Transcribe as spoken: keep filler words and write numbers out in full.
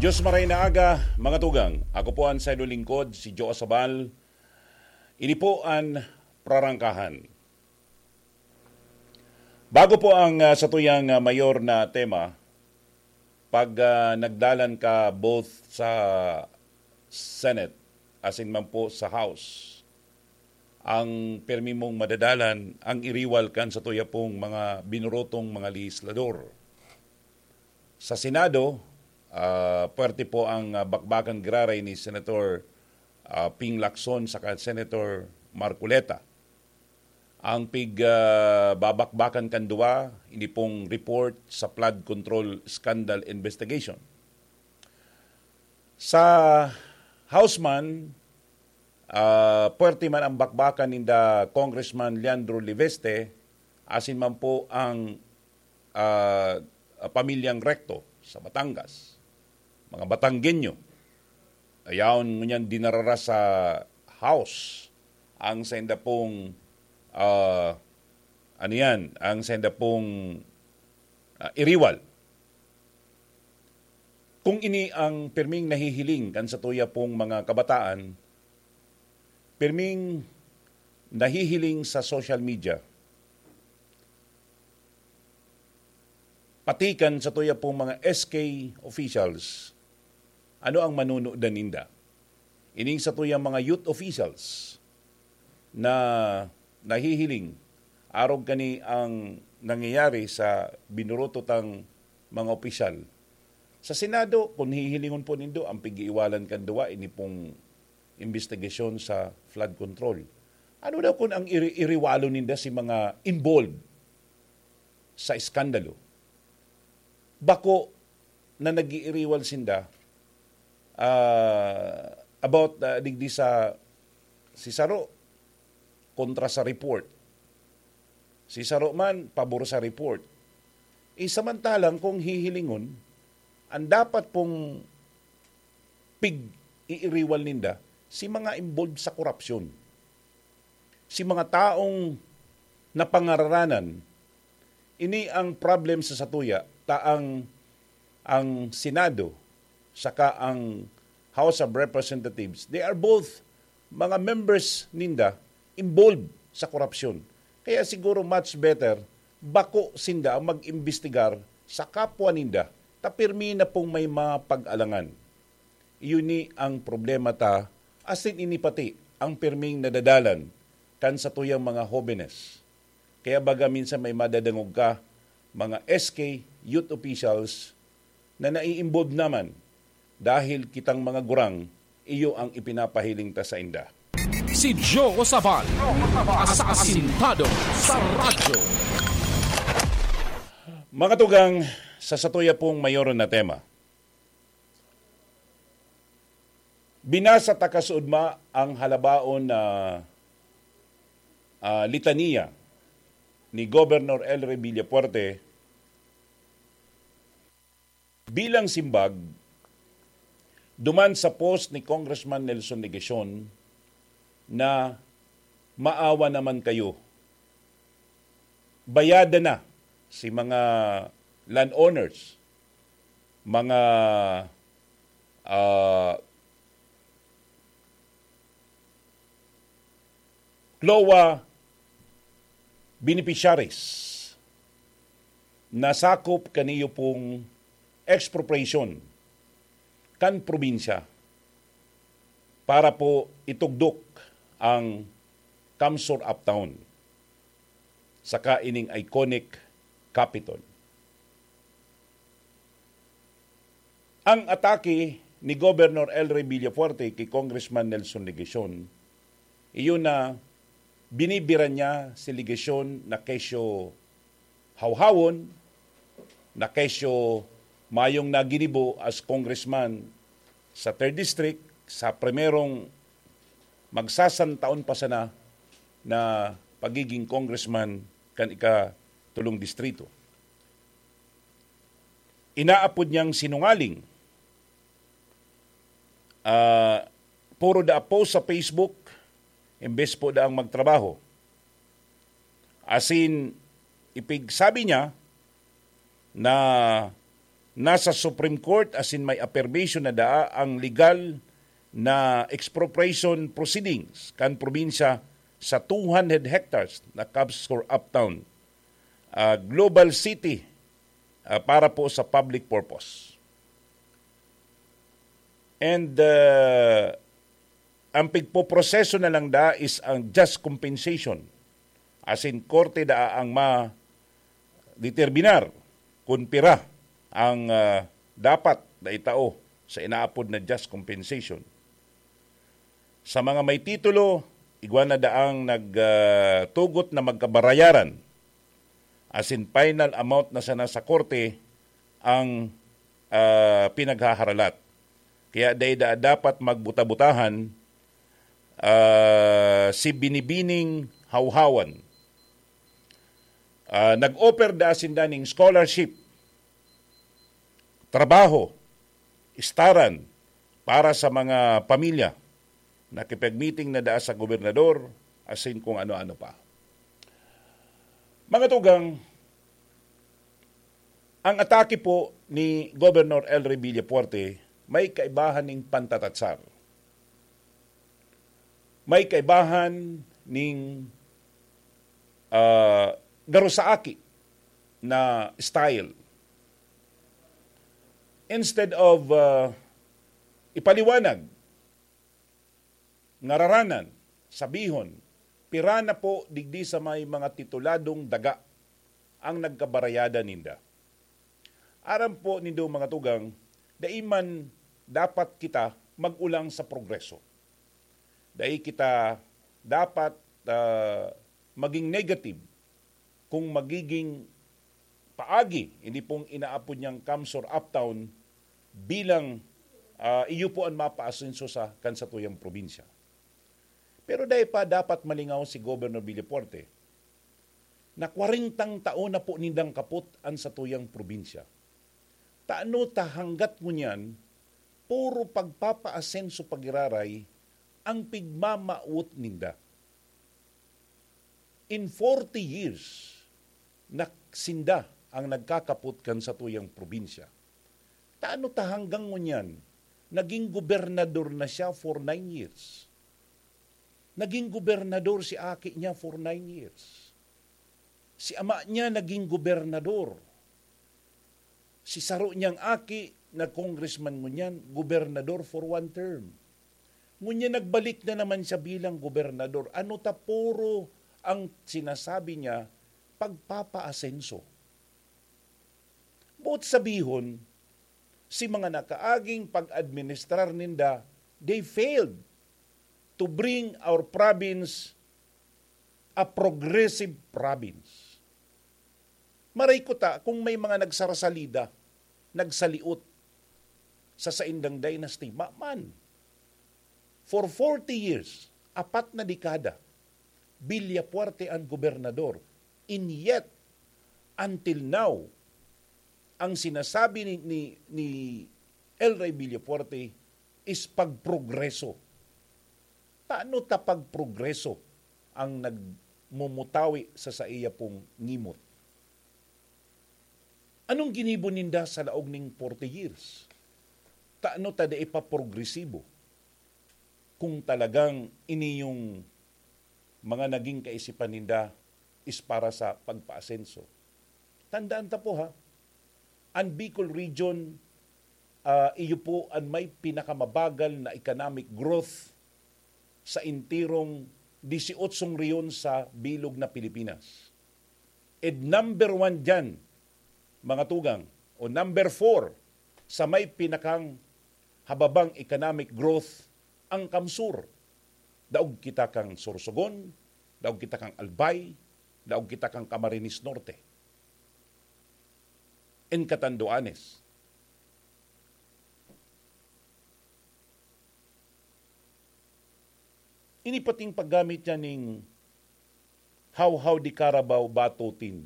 Diyos maray na aga, mga tugang. Ako po ang sayo lingkod, si Joe Sabal. Ini po an Prarangkahan. Bago po ang, ah, satuyang, ah, mayor na tema, pag, ah, nagdalan ka both sa Senate, asin man po sa House, ang permi mong madadalan, ang iriwal kan satuya pong mga binorotong mga lehislador. Sa Senado, ah, puwerte po ang, ah, bakbakang giraray ni Senator, ah, Ping Lacson saka Senator Marcoleta. Ang pig, ah, babakbakan kan duwa, ini pong report sa flood control scandal investigation. Sa House man, ah, puwerte man ang bakbakan ninda Congressman Leandro Leviste, asin man po ang, ah, pamilyang Recto sa Batangas, mga Batanggenyo. Ayaon ngunyan dinarara sa House ang sainda pong, ah, ano yan, ang sainda pong, ah, iriwal. Kung ini ang pirming nahihiling kan satuya pong mga kabataan, pirming nahihiling sa social media, pati kan satuya pong mga S K officials, ano ang manunudan ninda? Ining satuyang mga youth officials na nahihiling arog kani ang nangyayari sa binuruto tang mga opisyal. Sa Senado, kung hihilingon po nindo, ang pig-iiwalan kan duwa, ini pong imbestigasyon sa flood control. Ano daw kung ang iri-, iriwalo ninda si mga involved sa iskandalo? Bako na nag-iiriwal sinda, ah, about, ah, digdi sa si saro kontra sa report. Si saro man, pabor sa report. Eh, samantalang kung hihilingon, ang dapat pong pig-iiriwal ninda, si mga involved sa korupsyon. Si mga taong napangararanan, ini ang problem sa satuya, ta ang, ang Senado, saka ang House of Representatives, they are both mga members ninda involved sa korupsyon. Kaya siguro much better, bako sinda ang mag-imbestigar sa kapwa ninda, ta pirmi na pong may mga pag-alangan. Iyo ni ang problema ta, asin ini pati ang pirming nadadalan kan satuyang mga hobenes. Kaya baga minsan may madadangog ka, mga S K youth officials na nai-involve naman dahil kitang mga gurang, iyo ang ipinapahiling ta sainda. Si Joe Sabal, asasintado sa radyo. Mga tugang, sa satuya pong mayor na tema, binasa ta kasuodma ang halabaon na, ah, litaniya ni Governor Elry Villafuerte bilang simbag duman sa post ni Congressman Nelson Legacion na, "Maawa naman kayo. Bayadan na si mga landowners, mga, ah, CLOA beneficiaries na sakop kaniyo pong expropriation kan probinsya para po itugdok ang Kamsur Uptown saka ining iconic Capitol." Ang atake ni Governor Elry Villafuerte ki Congressman Nelson Legacion, iyo na binibiran niya si Legacion na kesyo hawhawon, na kesyo mayong naginibo as congressman sa third District, sa primerong magsasantaon pa sana na pagiging congressman kan ikatulong distrito. Inaapod niyang sinungaling. Ah, puro daa post sa Facebook, imbes po daang magtrabaho. Asin, ipigsabi niya na Nasa Supreme Court asin may affirmation na daa ang legal na expropriation proceedings kan probinsya sa two hundred hectares na CamSur Uptown, ah, Global City, ah, para po sa public purpose. And, ah, ang pigpoproseso na lang da is ang just compensation. Asin korte daa ang ma-determinar kun pira ang, ah, dapat na itao sa inaapod na just compensation. Sa mga may titulo, igwa na daang nag, ah, tugot na magkabarayaran, asin final amount na sana sa korte ang, ah, pinaghaharalat. Kaya dai daa dapat magbuta-butahan, ah, si binibining hawhawan. Ah, nag-offer daa sinda ning scholarship, trabaho, istaran para sa mga pamilya. Nakipag-meeting na daa sa gobernador, asin kung ano-ano pa. Mga tugang, ang atake po ni Governor El Rey Villafuerte may kaibahan ning pantatatsar. May kaibahan ning, ah, garo sa aki na style. Instead of, ah, ipaliwanag, ngararanan, sabihon, pira na po digdi sa may mga tituladong daga ang nagkabarayada ninda. Aram po nindo, mga tugang, dai man dapat kita mag-ulang sa progreso. Dai kita dapat, ah, maging negative kung magiging paagi, hindi pong inaapod niyang CamSur Uptown bilang, ah, iyo po an mapaasenso sa kan satuyang probinsya. Pero dai pa dapat malingaw si Governor Villafuerte na kwarentang taon na po nindang kapot an satuyang probinsya. Tano ta hanggat ngunyan, puro pagpapaasenso pagiraray ang pigmamawot ninda. In forty years, nak-, sinda ang nagkakapot kan satuyang probinsya. Tano ta hanggang ngunyan, naging gobernador na siya for nine years. Naging gobernador si aki niya for nine years. Si ama niya naging gobernador. Si saro niyang aki, nag-congressman ngunyan, gobernador for one term. Ngunyan nagbalik na naman siya bilang gobernador. Ano ta puro ang sinasabi niya, pagpapaasenso. Boot sabihon, si mga nakaaging pag-administrar ninda, they failed to bring our province a progressive province. Maray ko ta kung may mga nagsarasalida, nagsaliot sa saindang dynasty, ma-, man. For forty years, apat na dekada, Villafuerte an gobernador. And yet, until now, ang sinasabi ni, ni, ni El Rey Villafuerte is pagprogreso. Tano ta pagprogreso ang nagmumutawi sa saiya pong ngimot? Anong ginibo ninda sa laog ning forty years? Tano ta dai pa progresibo kung talagang ini yung mga naging kaisipan ninda is para sa pagpaasenso? Tandaan ta po, ha, ang Bicol region, ah, iyo po ang may pinakamabagal na economic growth sa entirong disyotso rehiyon sa bilog na Pilipinas. And number one diyan, mga tugang, o number four sa may pinakang hababang economic growth, ang CamSur. Daog kita kan Sorsogon, daog kita kan Albay, daog kita kan Camarines Norte. And Catanduanes. Ini pating paggamit niya ning How-How de Carabao Batutin.